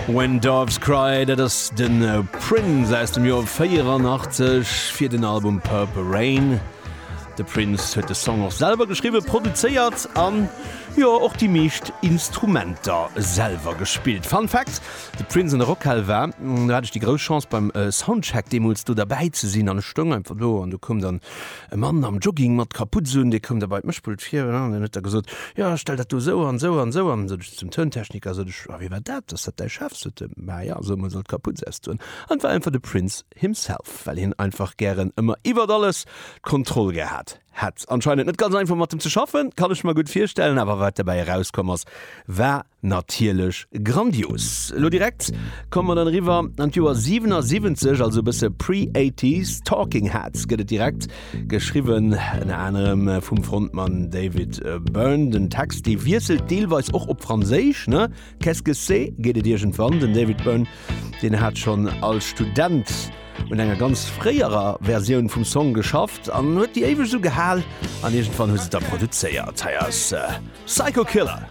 When Doves Cry, dat ass de Prince aus dem Joer 84 fir den Album Purple Rain. De Prince huet de Song och selwer geschriwwen, produzéiert an, jo, och déi meescht Instrumenter selwer gespillt. Fun Fact, De Prince an der Rockhal war, do hat ech déi grouss Chance beim Soundcheck deemools do derbäi ze sinn an ech stoung einfach do an do koum dann e Mann am Jogging mat Kaputz un, dee koum da bei d'Mëschpult vir an dann huet e gesot, jo stell dat do esou an esou an esou an. Sot ech zum Tountechniker, sot ech, a wie war dat, ass dat däi Chef? Sot e, ma ja, sou emol soll d'Kaputz ausdoen. An et war einfach de Prince himself, well hien einfach gären ëmmer iwwert alles d'Kontroll gehat hätt. Anscheinend net ganz einfach mat em ze schaffen, kann ech mer gutt virstellen, awer wat derbäi erauskomm ass, war Natierlech grandios. Elo direkt komme mer dann eriwwer an d'Joer 77, also e bësse pre-Eighties. Talking Heads gëtt et direkt, geschriwwen ënner anerem vum Frontmann David Byrne. Den Text, dee wiesselt deelweis och op Franséisch, ne? Qu'est-ce que c'est? geet et iergendwann. Den David Byrne, deen hat schonn als Student un enger ganz fréierer Versioun vum Song geschafft an huet déi éiweg esou gehal an iergendwann hu se et da produzéiert. Hei ass Psycho Killer.